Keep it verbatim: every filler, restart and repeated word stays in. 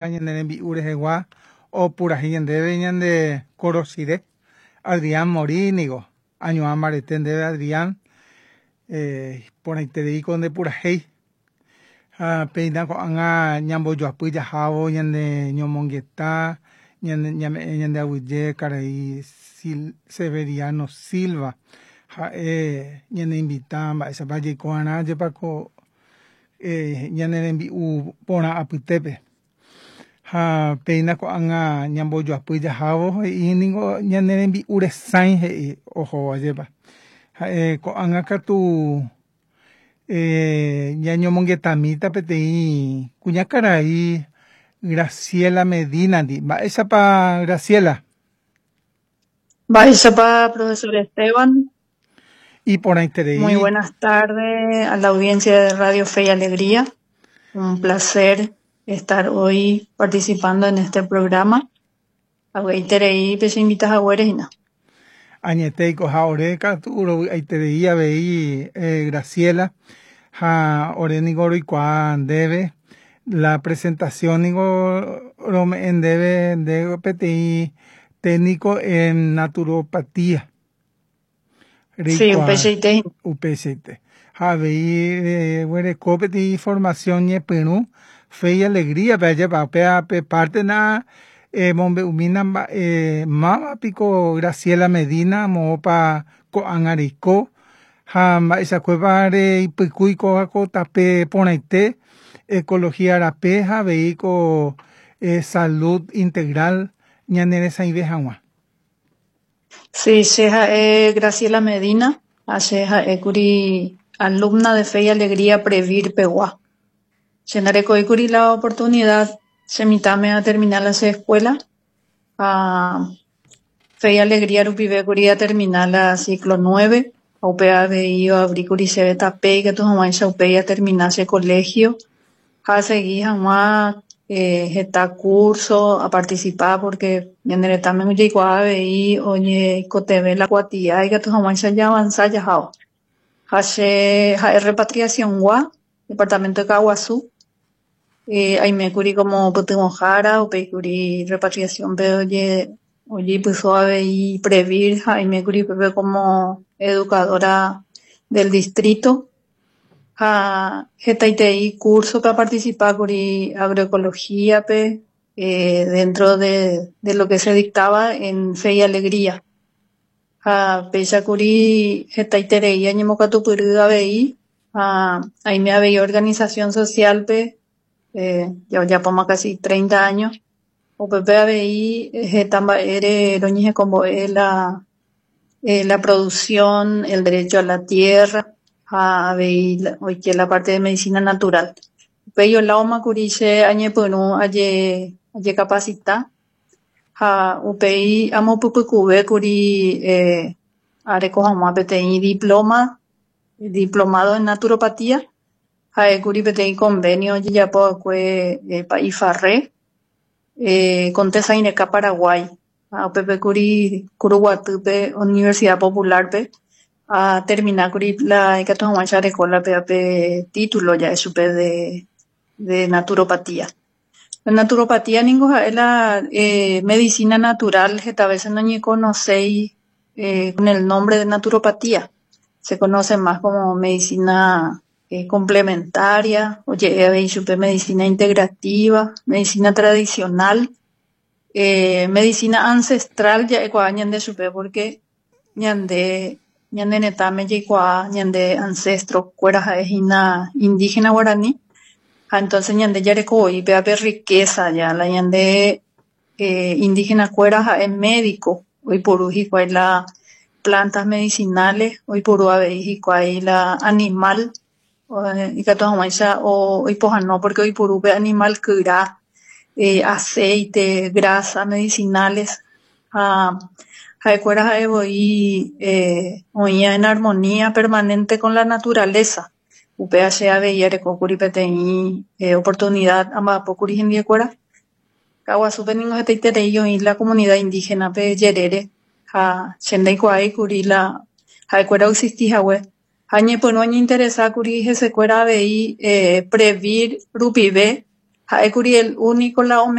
Ñane rembi'u rehegua opurahéi ñandéve ñande Korosire Adrián Morínigo añuã mbarete ndéve Adrián eh, porãitereíko ndepurahéi ha péina ko'ág̃a ñambojoapy jahávo ñane ñomongeta ñane ñame'ẽ ñande aguyje karai Sil Severiano Silva ha'e ñaneinvita mba'éichapa jaiko'arã jepako eh, ñane rembi'u porã apytépe ha péina ko'ág̃a ñambojoapy jahávo he'i niko ñane rembi'u resãi he'i ohóva jepa ha'e ko'ág̃a katu eh, ñañomongetamíta peteĩ kuñakarai Graciela Medina-ndi. Mba'éichapa Graciela? Mba'éichapa, profesor Esteban. Iporãiterei. Muy buenas tardes a la audiencia de Radio Fe y Alegría. Un placer estar hoy participando en este programa. Avy'aiterei pecheinvitahaguére hína. Añetéiko ha ore katu rovy'aiterei avei eh, Graciela ha ore niko roikuaa ndéve la presentación niko rome'ẽ ndéve nde peteĩ técnico en naturopatía. Sí, upeichaite hína. Upeichaite. Ha avei reguereko peteĩ formación ñepyrũ Fe y Alegría-pe ajépa upéva pe parte na emombe'umína mba'e mávapiko Graciela Medina moõpa ko'ág̃a reiko ha mba'eichakuépa reipykúi kóva ko tape porãite ecología rape ha avei ko eh, salud integral ñaneresãive hag̃ua. Sí, che ha'e Graciela Medina, ha che ha'ékuri alumna de Fe y Alegría Previr pegua. Che ndarekóikuri la oportunidad chemitãme a terminar la che escuela ha Fe y Alegría rupivékuri a terminar la ciclo nueve ha upéva avei oabríkuri chéve tape ikatu hag̃uáicha upéi a terminar che colegio ha asegui hag̃ua eh, heta curso a participar porque ñane retãme ojeikuaa avei oñeikotevẽ la kuatia ikatu hag̃uáicha jaavanza jahávo. Ha che ha'e repatriación-gua departamento de Caaguazú eh, aimékuri como pytyvõhára upéikuri repatriación-pe oje ojeipyso avei Previr ha aimékuri upépe como educadora del distrito ha hetaitei curso-pe aparticipákuri agroecología-pe eh, dentro de, de lo que se dictaba en Fe y Alegría. Ha péichakuri hetaiterei añemokatupyry avei ha aime avei organización social-pe eh, ojapóma casi treinta años upépe avei heta mba'ére roñehekombo'e la, eh, la producción, el derecho a la tierra ha avei oike la parte de medicina natural. Upéi oláomakuri che añepyrũ aje ajecapacita ha upéi amopypykuvékuri eh, areko hag̃ua peteĩ diploma, diplomado en naturopatía ha'ékuri peteĩ convenio ojejapova'ekue eh, Pa'i Farré eh, con Tesãireka Paraguay ha upépekuri Kuruguatýpe Universidad Popular-pe a terminákuri la ikatu hag̃uáicha areko la pévape título ja'e chupe de, de naturopatía. La naturopatía ningo ha'e la eh, medicina natural heta veces noñeconoséi eh, con el nombre de naturopatía. Se conoce más como medicina eh, complementaria, oje'e avei chupe medicina integrativa, medicina tradicional, eh, medicina ancestral ja'ekuaa ñande chupe porque ñande ñane retãme jaikuaa ñande ancestro-kuéra ha'ehína indígena guarani ha entonces ñande jarekovoi pévape riqueza ya la ñande eh, indígena-kuéra ha'e médico oiporu hikuái la plantas medicinales oiporu avei hikuái la animal ikatu hag̃uáicha oipohãno porque oiporu pe animal kyra eh, aceite, grasa medicinales ha ha'ekuéra ha'evoi eh, oĩa en armonía permanente con la naturaleza. Upéva che avei arekókuri peteĩ eh, oportunidad amba'apókuri hendiekuéra. Caaguazúpe ningo hetaiterei oĩ la comunidad indígena-pe jerére ha che ndaikuaáikuri la ha'ekuéra oexistihague ha ñepyrũ añeinteresákuri hesekuéra avei eh, Previr rupive Ha'ékuri el único la